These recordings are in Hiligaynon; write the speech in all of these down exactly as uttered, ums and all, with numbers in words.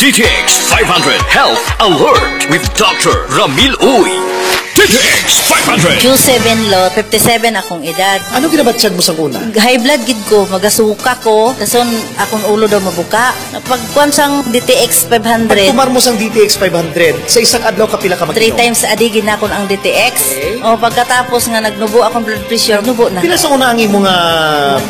D T X five hundred Health Alert with Doctor Ramil Uy. D T X five hundred. Q seven lo, fifty-seven akong edad. Ano ginabatyag mo sang una? High blood gid ko, magasuka ko, dason akong ulo daw mabuka. Pagkuan sang D T X five hundred. Pagtumar mo sang D T X five hundred, sa isang adlaw kapila ka mag-inom? Three times a day ginakon ang D T X. Okay. O, pagkatapos nga nagnubo akong blood pressure, nubo na. Pila sa una ang imo nga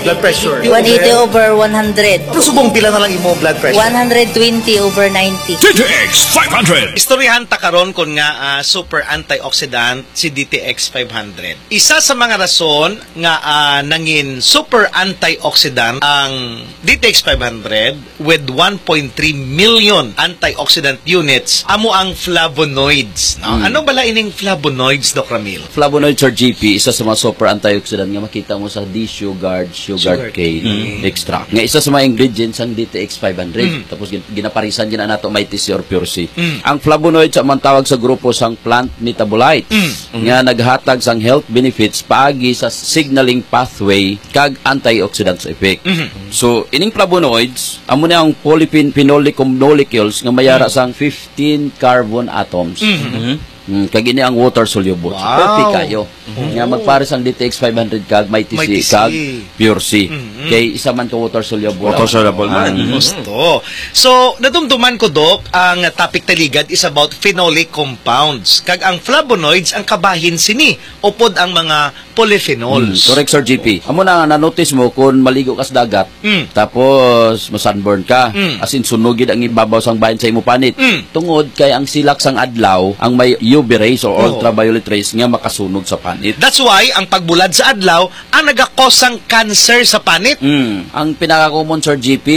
blood pressure? One eighty over one hundred. Pero subong pila na lang imo blood pressure? One hundred twenty over ninety. D T X five hundred. Istoryahan ta karon kon nga, ah, super antioxidant si D T X five hundred. Isa sa mga rason nga, ah, nangin super antioxidant ang D T X five hundred with one point three million antioxidant units amo ang flavonoids, no? Mm. Ano bala ining flavonoids, Doc Ramil? Flavonoids, Sir G P, isa sa mga super antioxidant nga makita mo sa D sugar, sugar cane extract. Nga isa sa mga ingredients sang D T X five hundred. Mm. Tapos gin-, ginaparisan gina nato Mighty C or Pure C. Mm. Ang flavonoids amo ang tawag sa grupo sang plant metabolites nga naghatag sang health benefits paagi sa signaling pathway kag antioxidants effect. Mhm. So, ining flavonoids, amo ni ang polyphenolic molecules nga may ara sang fifteen carbon atoms. Mhm. Mm, kag ini ang water soluble. So, wow, perfect kayo. Mhm. Nga magpares ang D T X five hundred kag Mighty C kag Pure C. Mhm. Kay isa man ka water soluble. Water soluble man. Mhm. Gusto. So, nadumduman ko, Doc, ang topic taligad is about phenolic compounds. Kag ang flavonoids ang kabahin sini, upod ang mga polyphenols. Mm, correct, Sir G P. Amo na nga, na-notice mo kung maligo ka sa dagat, mm, tapos ma-sunburn ka, mm, as in, sunog gid ang ibabaw sang bahin sa imo panit. Mm. Tungod kay ang silak sang adlaw ang may U V rays o, oo, ultraviolet rays nga makasunog sa panit. That's why ang pagbulad sa adlaw ang nagakos sang cancer sa panit. Mm. Ang pinaka-common, Sir G P,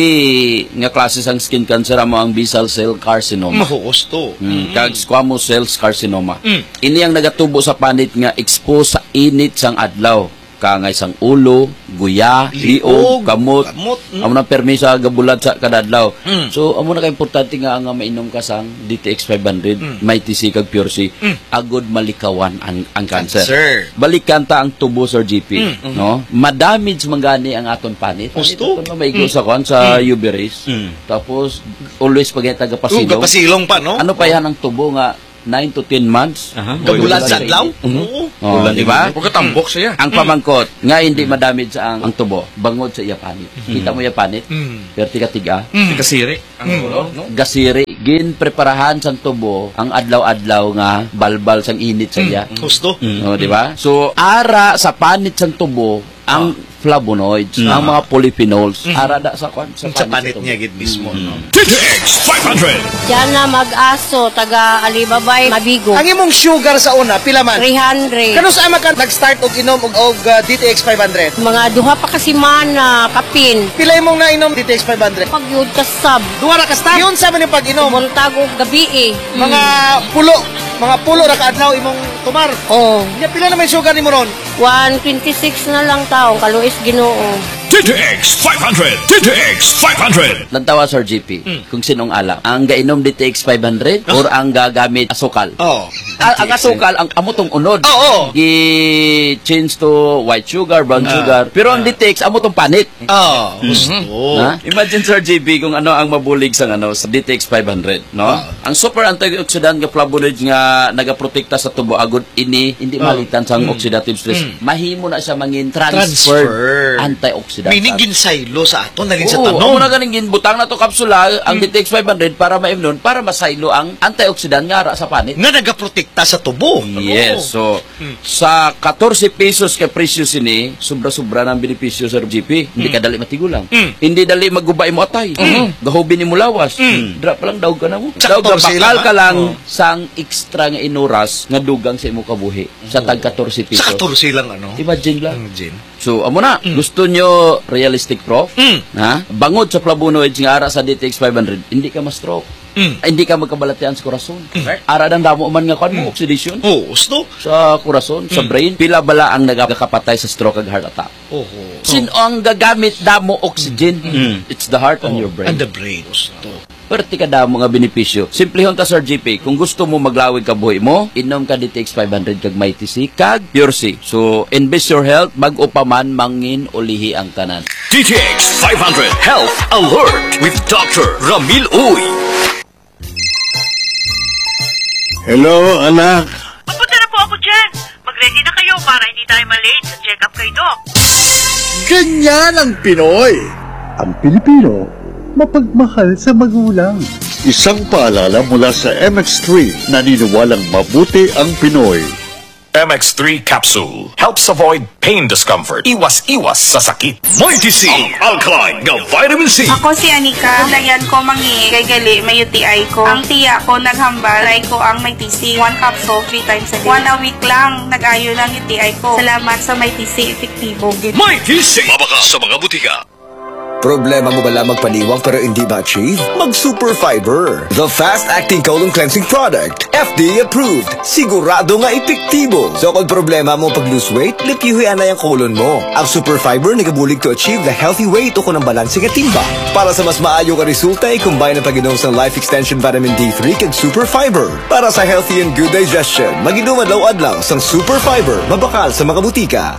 nga klase sang skin cancer amo ang basal cell carcinoma. Mahuos to. Mm. Mm. Kag squamous cell carcinoma. Mm. Ini ang nagatubo sa panit nga expose sa init sang adlaw. Kaangay sang ulo, guya, liog, liog, kamot. Kamot, mm. Amo na permi sa gabulad sa kada adlaw. Mm. So, amo na ka importante nga, nga mainom ka sang D T X five hundred, mm, Mighty C kag Pure C. Mm. Agod malikawan ang, ang cancer. Cancer. Balikan ta ang tubo, Sir G P, mm, no? Ma-damage man gani ang aton panit. Panit. Gusto? Aton nga maigo, mm, sa kuwan, sa, mm, U V rays. Mm. Tapos, always pag taga pasilong. Oh, gapasilong pa, no? Ano pa yan ang tubo nga nine to ten months. Aha. Gabulan sa adlaw? Mhm. Oo. Oh, ulan, di ba? Pagkatambok siya. Ang, mm, pamangkot, nga hindi, mm, madamage ang, ang tubo, bangod sa iya panit. Mm. Kita mo iya panit? Mm. Perti ka tiga. Mm. Kasiri ang, mm, ulo, no? Gasiri, ginpreparahan sang tubo ang adlaw-adlaw nga balbal sang init sa iya. Mm. Husto. Mm. Oh, di ba? So, ara sa panit sang tubo, ang, ah, flavonoids, mm, ang mga polyphenols, mm, ara da sa kwan, sa, sa panit, panit niya gid mismo, mm, no? D T X five hundred. Diana Mag-aso, taga Alibabay, Mabigo. Ang imong sugar sa una, pila man? Three hundred. Kanus-a man ka nag-start og inom og, og, ah, D T X five hundred? Mga duha pa ka semana, kapin. Pila imong nainom D T X five hundred? Pagyud ka sab. Duha ra ka stop? Yun sa man yung pag-inom? Buntag o gabi eh. Mga, mm, pulo, mga pulo ra ka adlaw imong tumar? Oo. Nya, pila na may sugar nimo ron? One twenty-six na lang taong kaluis Ginoo. D T X five hundred, D T X five hundred. Lantawa, Sir G P, mm, kung sinong ala. Ang gainom D T X five hundred, oh, or ang gagamit asukal? Oh. A-, ang asukal, ang amo tong unod. Oh, oh. Gi-change to white sugar, brown, ah, sugar. Pero ang, ah, D T X, amo tong panit. Oh, mhm, gusto. Ha? Imagine, Sir G P, kung ano ang mabulig sa, ano, sa D T X five hundred, no? Ah. Ang super antioxidant nga flavonoids nga nagaprotekta sa tubo agud ini hindi, oh, malitan sang, mm, oxidative stress. Mm. Mahimo na siya mangin transferred, transfer, antioxidant. Meaning, ginsaylo sa ato, nalin sa, oo, tanom. Amo na ganing ginbutang na to kapsula, ang, mm, D T X five hundred para maimnon, para masaylo ang antioxidant nga ara sa panit. Nga nagaprotekta sa tubo. Yes, oo. So, mm, sa katorse pesos ka presyo sini, sobra-sobra na ang benepisyo, Sir G P. Hindi, mm, ka dali matigulang. Mm. Hindi dali maguba imo atay. Mm. Gahubi nimo lawas. Mm. Dra pa lang daog ka na mo. Sa katorse lang, ha? Daog ka, bakal ka lang, oh, sang extra nga inuras nga dugang sa imo kabuhi sa, oo, tag katorse pesos. Sa katorse lang, ano? Imagine lang. Imagine. So, amo na. Mm. Gusto nyo realistic, Prof? Mm. Ha? Bangod sa flavonoids nga ara sa D T X five hundred, hindi ka ma-stroke. Mm. Ay, hindi ka magkabalatian sa korason. Mm. Ara dang damo man nga kwan mo, mm, oxidation. Oo, gusto. Sa korason, sa, mm, brain, pila bala ang nagakapatay sa stroke ag heart attack? Oho. Sin-, ang gagamit damo oxygen. Mm. It's the heart and, oh, your brain. And the brain. Gusto. Perte ka damo nga benepisyo. Simplehon ta, Sir G P. Kung gusto mo maglawig kabuhi mo, inom ka D T X five hundred kag Mighty C kag Pure C. So, invest your health, bag-o pa man, mangin ulihi ang tanan. D T X five hundred Health Alert with Doctor Ramil Uy. Hello, anak. Papunta na po ako dyan. Mag-ready na kayo para hindi tayo ma-late sa check-up kay Doc. Ganyan ang Pinoy. Ang Pilipino, mapagmahal sa magulang. Isang paalala mula sa M X three, naniniwalang mabuti ang Pinoy. M X three capsule helps avoid pain discomfort. Iwas-iwas sa sakit. Mighty C, ang alkaline nga vitamin C. Ako si Anika. Layan ko mangi kay gali may U T I ko. Ang tiya ko naghambal, try ko ang Mighty C. One capsule, three times a day. One a week lang, nag-ayo lang U T I ko. Salamat sa Mighty C, epektibo gid. Mighty C. Mabakal sa mga butika. Problema mo bala magpaniwang pero hindi ma-achieve? Mag Super Fiber, the fast-acting colon cleansing product. F D A approved. Sigurado nga epektibo. So kung problema mo pag-lose weight, limpyuhi anay ang colon mo. Ang Super Fiber nagabulig to achieve the healthy weight o kung ang balanse nga timbang. Para sa mas maayo nga resulta, i-combine ang pag-inom sang Life Extension Vitamin D three kag Super Fiber. Para sa healthy and good digestion, mag-inom adlaw-adlaw sang Super Fiber, mabakal sa mga butika.